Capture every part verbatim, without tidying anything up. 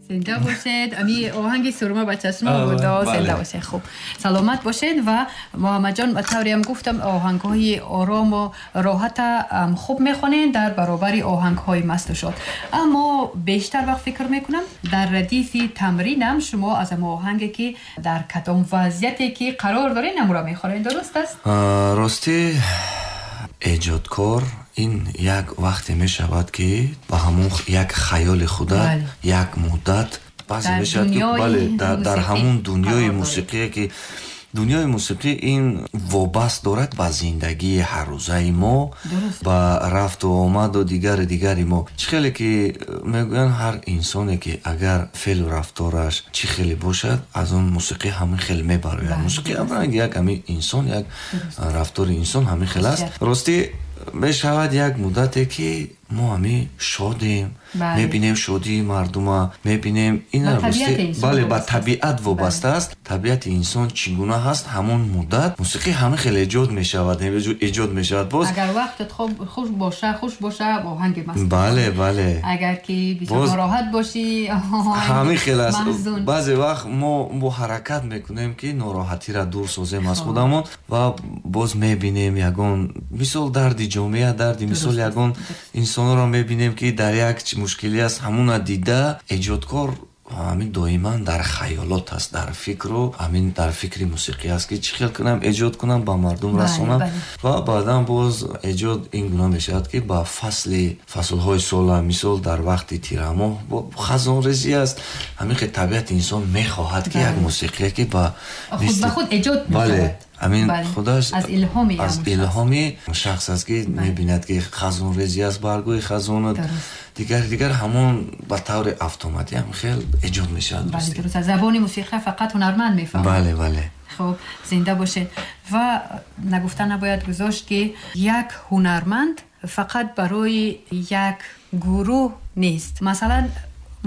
Зинда бошед. Ами оҳанги сурма ба чашмо буд. Зинда бошед. Хуб, саломат бошед. Ва Муҳаммадҷон, ба тавре ҳам гуфтам, оҳангҳои орому роҳата хуб мехонед дар баробари оҳангҳои масту шод. Аммо бештар вақт фикр мекунам, дар радифи тамринам шумо аз ҳам оҳанге ки дар кадом вазъияте ки қарор доред, намура мехонед. Дуруст аст? Ростӣ, эҷодкор ин як вақте мешавад, ки ба ҳамон як хаёли худа як муддат баъзе мешавад, ки бале, дар ҳамон дунёи мусиқие, ки дунёи мусиқӣ ин вобаст дорад ба зиндагии ҳаррӯзаи мо, ба рафту омаду дигари дигари мо. Чӣ хеле ки мегӯянд, ҳар инсоне ки агар феълу рафтораш чӣ хеле бошад, аз он мусиқӣ ҳамин хел мебарояд. Мусиқӣ як ҳамин инсон, як рафтори инсон ҳамин хел аст. Ростӣ, мешавад як муддате, ки мо ҳамин шодем, мебинем шодии мардума, мебинем ина. Бале, ба табиат вобаста аст. Табиати инсон чӣ гуна ҳаст, ҳамон муддат мусиқӣ ҳамин хел эҷод мешавад, эҷод мешавад. Боз агар вақтат хуш боша, хуш боша, оҳанги маст. Бале, бале. Агар ки бисёр нороҳат бошӣ, ҳамин хел аст. Баъзе вақт мо бо ҳаракат мекунем, ки нороҳатиро дур созем аз худамон, ва боз мебинем ягон мисол дарди ҷомеа, дарди мисол ягон инсонро мебинем, ки дар як мушкилӣ аст. Ҳамуна дида, эҷодкор ҳамин доиман дар хаёлот аст, дар фикру ҳамин дар фикри мусиқӣ аст, ки чӣ хел кунам, эҷод кунам, ба мардум расонам. Ва баъдан боз эҷод ин гуна мешавад, ки ба фасли фаслҳои сола, мисол дар вақти тирамоҳ хазонрезӣ аст, ҳамин хел табиати инсон мехоҳад, ки як мусиқие, ки ба ба худ эҷод. Бале, ҳамин худаш аз илҳоми аз илҳоми шахс аст, ки мебинад, ки хазонрезӣ аст, баргҳои хазону дигар дигар, ҳамон ба таври автоматӣ ҳам хел эҷод мешавад. Бале, дуруст. Забони мусиқӣ фақат ҳунарманд мефаҳмад. Бале, бале. Хуб, зинда бошед. Ва нагуфта набояд гузошт, ки як ҳунарманд фақат барои як гурӯҳ нест. Масалан,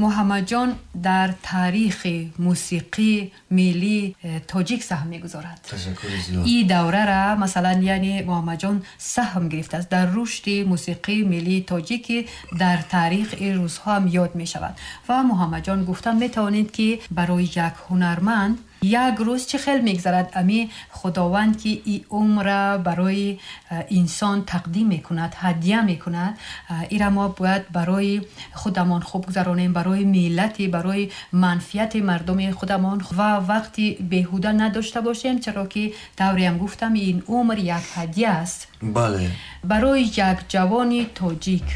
Муҳаммадҷон дар таърихи мусиқии миллии тоҷик саҳм мегузорад. И даврара, масалан, яъне Муҳаммадҷон саҳм гирифтааст дар рушди мусиқии миллии тоҷик, ки дар таърих ин рӯзҳо ҳам ёд мешавад. Ва Муҳаммадҷон, гуфта метавонед, ки барои як ҳунарманд як рӯз чӣ хел мегзарад? Ами Худованд, ки и умра барои инсон тақдим мекунад, ҳадя мекунад, ира мо бояд барои худамон хуб гузаронем, барои миллати, барои манфиати мардуми худамон ва вақти беҳуда надошта бошем, чаро ки тавреам гуфтам, ин умр як ҳадя аст. Бале. Барои як ҷавони тоҷик,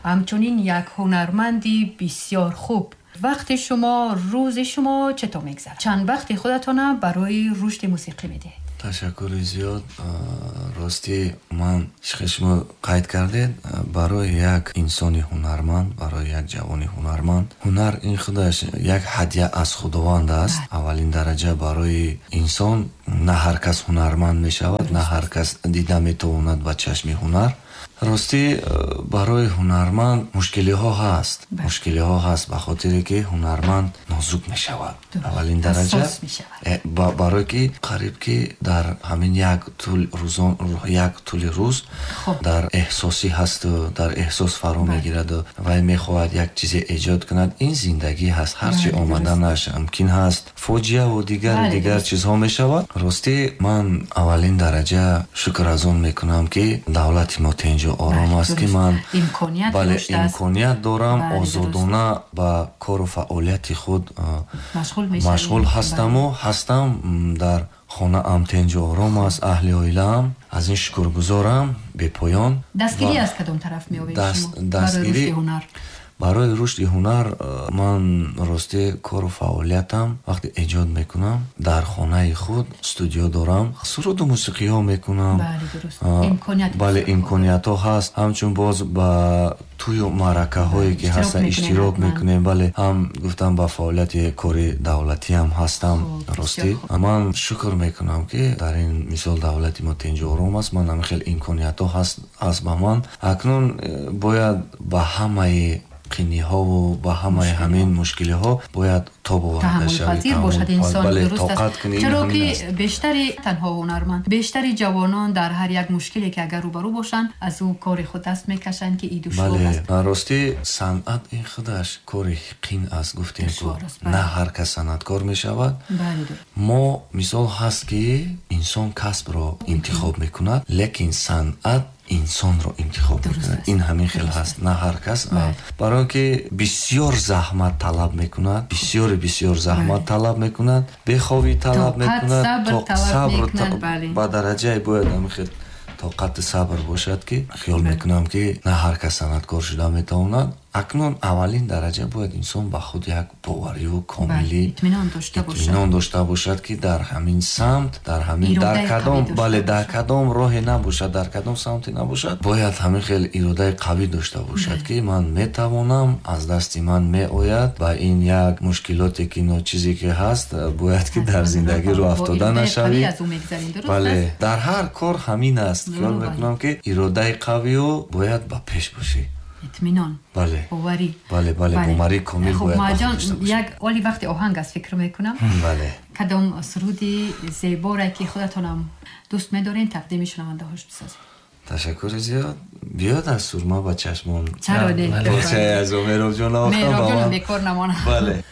ҳамчунин як ҳунарманди бисёр хуб, вақти шумо, рӯзи шумо чатор мегзарад? Чанд вақти худатона барои рушди мусиқӣ медиҳед? Ташаккури зиёд. Ростӣ, ман хел шумо қайд кардед, барои як инсони ҳунарманд, барои як ҷавони ҳунарманд, ҳунар ин худаш як ҳадя аз Худованд аст. Аввалин дараҷа барои инсон, на ҳар кас ҳунарманд мешавад, на ҳар кас дида метавонад ба чашми ҳунар. Ростӣ, барои ҳунарманд мушкилиҳо ҳаст, мушкилиҳо ҳаст, ба хотире ки ҳунарманд нозук мешавад аввалин дараҷа, э, барое ки қариб ки дар ҳамин як тӯл рӯзон, як тӯли рӯз дар эҳсосӣ ҳасту дар эҳсос фаро мегираду вай мехоҳад як чизе эҷод кунад. Ин зиндагӣ ҳаст, ҳарчи омаданаш мумкин ҳаст, фоҷиаву дигару дигар чизҳо мешавад. Ростӣ, ман аввалин дараҷа шукр аз он мекунам, ки давлати мо тинҷу ором аст, ки ман, бале, имконият дорам, озодона ба кору фаъолияти худ машғул ҳастаму ҳастам. Дар хонаам тинҷу ором аст, аҳли оилаам, аз ин шукргузорам бепоён. Дастгирӣ аз кадом тараф меёбед шумо? Дастгирӣ барои рушди ҳунар, ман ростӣ кору фаъолиятам, вақте эҷод мекунам, дар хонаи худ студио дорам, суруду мусиқиҳо мекунам. Бале, имкониятҳо ҳаст. Ҳамчун боз ба тӯю маъракаҳое ки ҳастанд, иштирок мекунем. Бале, ҳам гуфтам, ба фаъолияти кори давлатиам ҳастам. Ростӣ, ман шукр мекунам, ки дар ин мисол давлати мо тинҷу ором аст, ман ҳамин хел имкониятҳо ҳаст ба ман. Акнун э, бояд ба ҳамаи қиниҳову ба ҳамаи ҳамин мушкилиҳо бояд тоб оварда шавӣ, таҳаммулпазир бошад инсон. Бале, дуруст аст. тоқат кунӣ, ин Чаро ҳамин ки аст. Бештари танҳо ҳунарманд, бештари ҷавонон дар ҳар як мушкиле ки агар рӯбарӯ бошанд, аз ӯ кори худ даст мекашанд, ки и душвор Бале, аст. Ростӣ санъат ин худаш кори қин аст, гуфтем ку. Душвор аст, бале. На ҳар кас санъаткор мешавад. Бале, дуруст. Мо мисол ҳаст, ки инсон касбро интихоб мекунад, лекин санъат инсонро интихоб Дуруст мекунад. аст. Ин ҳамин хел Дуруст ҳаст. аст. На ҳар кас, Бале. барои он ки бисёр заҳмат талаб мекунад, бисёри бисёр заҳмат Бале. талаб мекунад, бехобӣ талаб Тоқат, мекунад, сабр тоқ- талаб сабр мекунад, та- бале. ба дараҷае бояд ҳамин хел тоқати сабр бошад, ки хиёл Бале. мекунам, ки на ҳар кас санъаткор шуда метавонад. Акнун аввалин дараҷа бояд инсон ба худ як бовариву комилӣ, Бале, итминон дошта бошад. Итминон дошта бошад, ки дар ҳамин самт, дар ҳамин, Иродаи дар қавӣ кадом, дошта бале, дар бошад. кадом роҳе набошад, дар кадом самте набошад, бояд ҳамин хел иродаи қавӣ дошта бошад, Бале. ки ман метавонам, аз дасти ман меояд ва ин як мушкилоте ки ночизе ки ҳаст, бояд ки дар Ҳатман зиндагӣ рӯ бо афтода иродаи нашавӣ. қавӣ аз ӯ мегзарем, дуруст Бале, аст? дар ҳар кор ҳамин аст. Хиёл Бале. мекунам, ки иродаи қавию бояд ба пеш бошӣ. Итминон. Бале. Боварӣ. Бале, бале, Бале. боварӣ комил Хуб, бояд ба Маҷон, худ дошта бошӣ. як оли вақти оҳанг аст, фикр мекунам. Бале. Кадом суруди зеборе ки худатонам дӯст медорен, тақдими шунавандаҳош бисозед? Ташаккури зиёд. Биёд аз сурма ба чашмон. Чаро не? Порчае аз Меҳробҷон навохтам ба Меҳробҷон ман. бекор намонад. Бале.